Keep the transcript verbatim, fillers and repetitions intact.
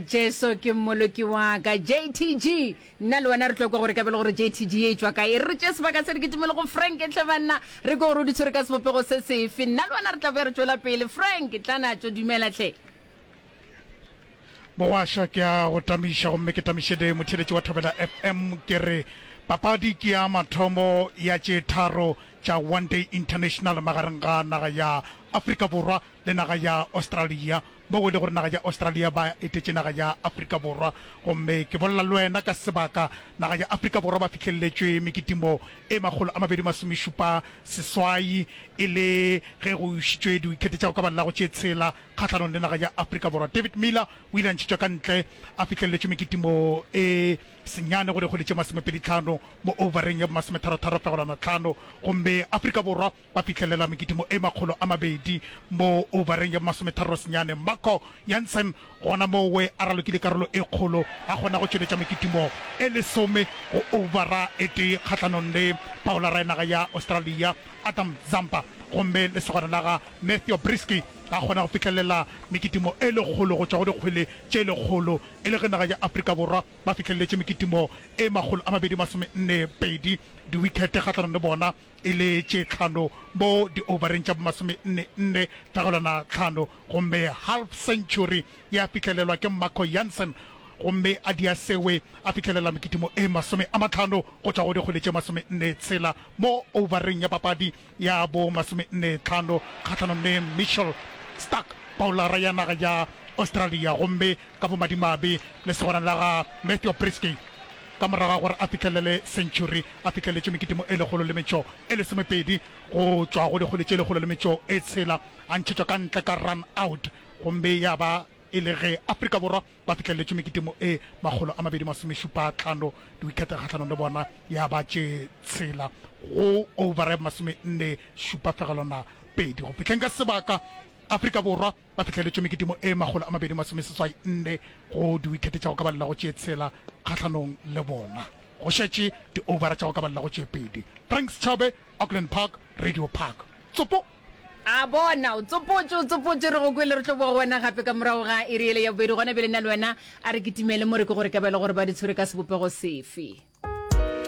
Jesu ke Mmoloki wa ka. J T G, nna le wena re tlo kwa gore ka bele gore J T G e tšwa kae. Re tšee sebaka se re kitimele go Frank hle banna, re kwe gore o di tshwere ka sebopego se sefe. Nna le wena re tla boya re tšwela pele. Frank, tla natšo, dumela hle. Mogwaša, ke a go tamiša gomme ke tamiše le motheeletši wa Thobela F M. Ke re papadi ke ya mathomo ya tše tharo tša One Day International magareng ga naga ya Afrika Borwa le naga ya Australia, mo e le gore naga ya Australia ba etetše naga ya Afrika Borwa. Gomme ke bolela le wena ka sebaka, naga ya Afrika Borwa ba fihleletšwe mekitimo e makgolo a mabedi masomešupa seswai e le ge go išitšwe diwikhete tša go ka balela go tše tshela kgahlanong le naga ya Afrika Borwa. David Miller o ile a ntšhetšwa ka ntle a fihleletšwe mekitimo e senyane go dikgwele tše masomepedi tlhano mo overeng ya bomasometharo-tharo fegelwana tlhano, gomme Afrika Borwa ba fihlelela mekitimo e makgolo a mabedi mo overeng ya masometharo senyane. Marco Jansen gona mowe a ralokile karolo e kgolo, a kgona go tšweletša mekitimo e lesome go overa e tee kgahlanong le bowler ya naga ya Australia Adam Zampa, gomme lesogana la ga Matthew Breetzke a kgona go fihlelela mekitimo e lekgolo go tšwa go dikgwele tše lekgolo, e le ge naga ya Afrika Borwa ba fihleletše mekitimo e makgolo a mabedi masome nne pedi, diwikhete kgahlanong le bona e le tše tlhano mo di-overeng tša bomasome nne nne fegelwana tlhano, gomme half century ya fihlelelwa ke Marco Jansen, gomme a dia sewe a fihlelela mekitimo e masome a matlhano go tšwa go dikgwele tše masome nne tshela mo overeng ya papadi ya bo masome nne tlhano kgahlanong le Mitchell Starc, bowler ya naga ya Australia. Gomme ka bomadimabe lesogana la ga Matthew Breetzke, ka morago ga gore a fihlelele century, a fihleletše mekitimo e lekgolo le metšo e lesomepedi go tšwa go dikgwele tše lekgolo le metšo e tshela, a ntšhetšwa ka ntle ka run out, gomme ya ba e le ge Afrika Borwa ba fihleletše mekitimo e makgolo a mabedi masomešupa tlhano, diwikhete kgahlanong le bona ya ba tše tshela go over ya masome nne šupa fegelwana pedi. Go fihleng ka sebaka, Afrika Borwa ba fihleletše mekitimo e makgolo a mabedi masome seswai nne go diwikhete tša go ka balela go tše tshela kgahlanong le bona, go šetše di-overa tša go ka balela go tše pedi. Frank Schabe, Auckland Park, Radio Park, tsopo. A bona o tsopotše, o tsopotše, re go kwele. Re tlo boa go wena gape ka morago ga iri ele ya bobedi. Gona bjale nna le wena a re kitimele mo re ke gore ka bjale gore ba di tshwere ka sebopego sefe.